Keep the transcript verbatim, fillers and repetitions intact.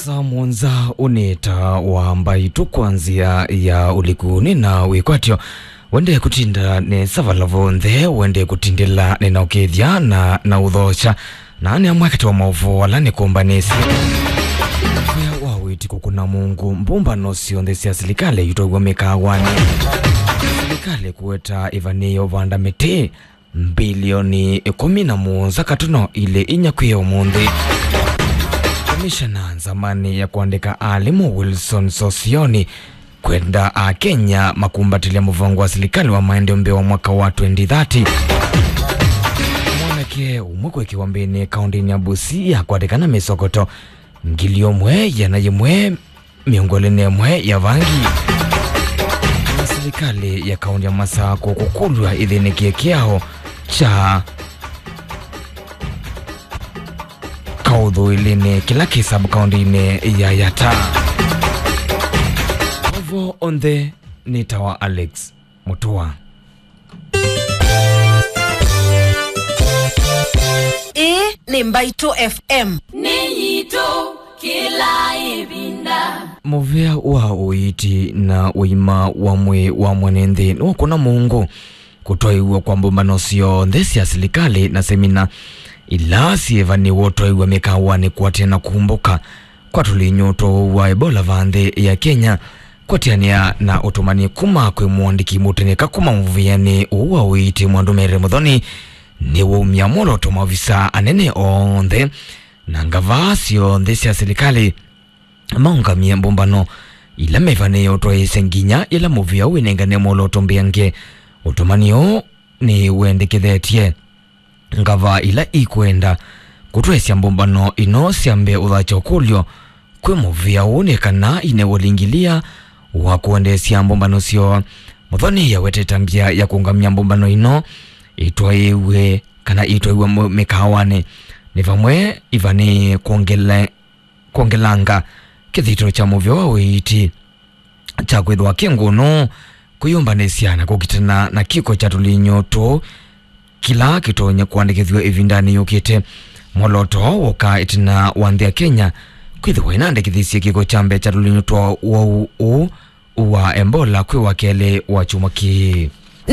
Saa mũonza ũnĩta wa mbaitũ kwa nzĩa ya ũliku nĩ na wĩkwatyo. Wende kũtinda nesa vala vonthe, wende kũtindĩla nĩ na ũkĩthya na, na ũthokya. Na nĩ amwe katĩ wa maũvoo ala nĩkũmbanĩsye. Wĩa wa wĩti kũkũna mũngũ, mbũmbano syonthe sya silikalĩ itwaĩw'a mĩkaawanĩ. Silikalĩ kũweta ĩvanĩĩo vanda mĩtĩ mbilioni ĩkũmi na mũonza katuno ilĩ inya kwĩ ũmũnthĩ. Komishona nzamanĩ ya kũandĩka alimũ Wilson Sosioni kwenda Akenya makumbatĩlya mũvango wa silikalĩ wa maendeeo mbee wa mwaka wa twenty thirty. Mwanake ũmwe kũĩkĩwa mbĩnĩ kaũndĩnĩ ya Busia kwatĩkana mĩsokoto ngili ũmwe ĩana yĩmwe mĩongo ĩlĩ na ĩmwe ya vangi. Na silikalĩ ya kaũndĩ ya Masakũ kũkũlw'a ĩthĩnĩkie kĩao kya kaũthũĩlĩnĩ kĩla kĩ sub-kaũndĩnĩ ya Yatta. Ovo onthe nĩ ta wa Alex Mũtua. Ĩĩ nĩ Mbaitũ F M. Nĩ yitũ kĩla ĩvinda. Mũvea wa ũiiti na ũima wa mwĩĩ wa mwene nthĩ nĩwakũna mũngũ kũtwaĩw'a kwa mbũmbano syonthe sya silikalĩ na semina ila syĩvanĩwe ũtwaĩw'a mĩkaawanĩ kũatĩana na kũmbũka kwa tũlinyũ twa ũwau wa Ebola va nthĩ ya Kenya. Kũatĩanĩa na ũtũmani kuma kwĩ mũandĩki mũteneka kuma mũvĩanĩ ũũ wa ũiiti Mwandũ Mary Mũthoni, nĩwaumya mwolooto maovisa anene onthe na ngavaa syonthe sya silikalĩ maũngamye mbũmbano ila mevanĩĩe ũtwaĩĩsya nginya yĩla mũvĩa ũũ wĩnengane mwolooto mbeange. Ũtũmani ũũ nĩwendekethetye ngavaa ila ikwenda kũtwaĩĩsya mbũmbano ino syambe ũthakya ũkũlyo kwĩ mũvĩa ũũ nĩ kana inew'a ũlingilia wa kũendeesya mbũmbano syoo. Mũthoni awetete mbĩa ya kũũngamya mbũmbano ino itwaĩwe kana itwaĩwe mũ-, mĩkaawanĩ nĩ vamwe ivanĩĩe kwongele-, kwongelanga kĩthito kya mũvĩa wa ũiiti kya kwĩthĩwa kĩ ngũnũ kwĩyũmbanĩsya na kũkitana na kĩko kya tũlinyũ tũũ kĩla kĩtonya kũandĩkĩthw'a ĩvindanĩ yũkĩte. Mwolooto wooka ĩtina wa nthĩ ya Kenya kwĩthĩwa ĩnaandĩkĩthisye kĩko kya mbee kya tũlinyũ twa ũwau ũũ wa Ebola kwĩ wa kelĩ wa kyumwa kĩĩ.